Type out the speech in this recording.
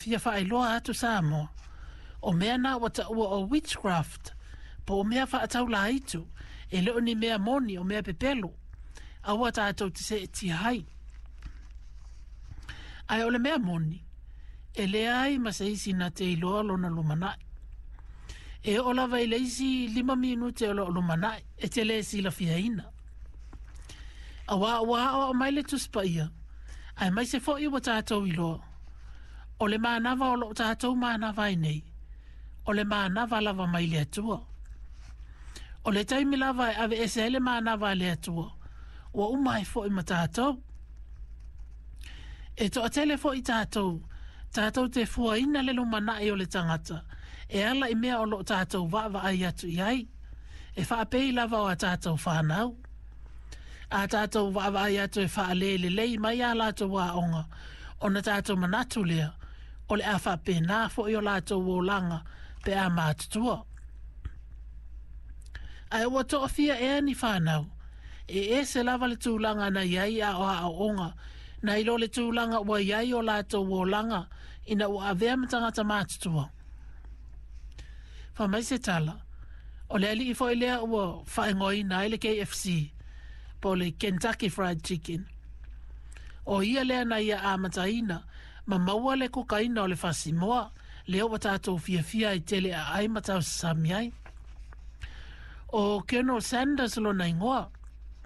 fia faailoa atu Samoa, o mea na ua taua o witchcraft, po o mea faataulaitu, e le o ni mea moni, o mea pepelo. Aua tatou te seetia ai. Ae o le mea moni, e leai ma se isi na te iloa lona lumanai. E oo lava i le isi 5 minute o loo lumanai, e te le silafiaina. Auā ua aoao mai le Tusi Paia, aemaise foi ua tatou iloa, o le manava o loo tatou manava ai nei, o le manava lava mai le Atua. O le taimi lava e aveese ai le manava a le Atua, ua uma ai foi ma tatou. E toatele foi tatou, tatou te fuaina le lumanai o le tagata, e ala i mea o loo tatou vaavaai atu i ai, e faapei lava o a tatou whanau. A tatou vaavaai atu e faalelelei mai a latou aoga, ona tatou manatu lea, o le a faapena foi o latou olaga pe a matutua. Ae ua toafia ea ni whanau, e ese lava le tulaga na iai a o aoaoga, nai lo le tulaga ua iai o latou olaga ina ua avea ma tagata matutua. Fai mai se tala, o le alii foi lea ua faaigoaina ai le KFC, po o le Kentucky Fried Chicken. O ia lea na ia amataina ma maua le kukaina o le fasimoa, lea ua tatou fiafia ai tele aai ma tausasami ai. O Colonel Sanders lona igoa.